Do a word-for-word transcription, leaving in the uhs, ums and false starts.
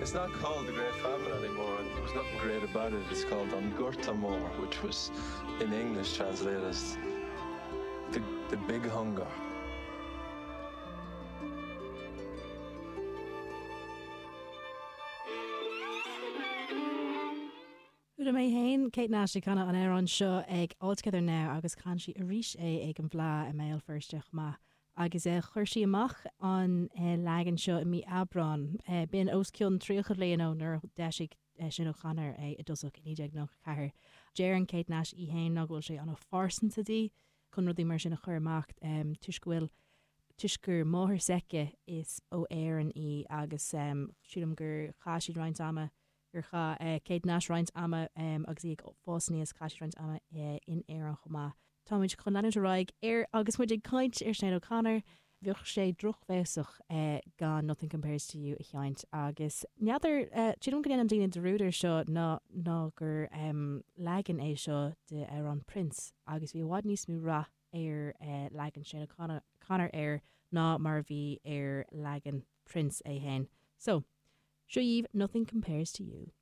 It's not called the Great Famine anymore. There was nothing great about it. It's called An Gorta Mór, which was in English translated as the, the Big Hunger. Chuala mé féin Kate Nash ag canadh an amhrán seo ag All Together Now agus chan sí arís é ag an bhFleadh i mBéal Feirste chomh maith. Agus eh, chuir sí amach an eh, leagan seo i mí Aibreán. Eh, b'in os cionn tríocha bliain ó nuair a d'eisigh eh, Sinéad O'Connor é i dtosach i naoi déag nócha ceathair. Deireann Kate Nash í féin ná go bhfuil sé an-phearsanta di chun rudaí mar sin a chur amach um, toisc go bhfuil toisc gur máthair s'aici is ó Éirinn í agus um, sílim gur chaith siad roinnt ama gur chaith eh, Kate Nash roinnt ama um, agus í ag fás aníos chaith sí roinnt ama eh, in Éirinn chomh maith. Táimid chun leanúint ar aghaidh ar agus muid ag caint ar Sinéad O'Connor, bheadh sé drochbhéasach eh, gan Nothing Compares to You a sheinnt agus n'fheadar eh, sílim go ndéanann daoine dearúd air seo ná ná gur um, leagan é seo de amhrán Prince agus bhí i bhfad níos mó rath ar eh, leagan Sinéad O'Connor Connor air ná mar bhí ar leagan Prince é féin. So, seo dhaoibh Nothing Compares to You.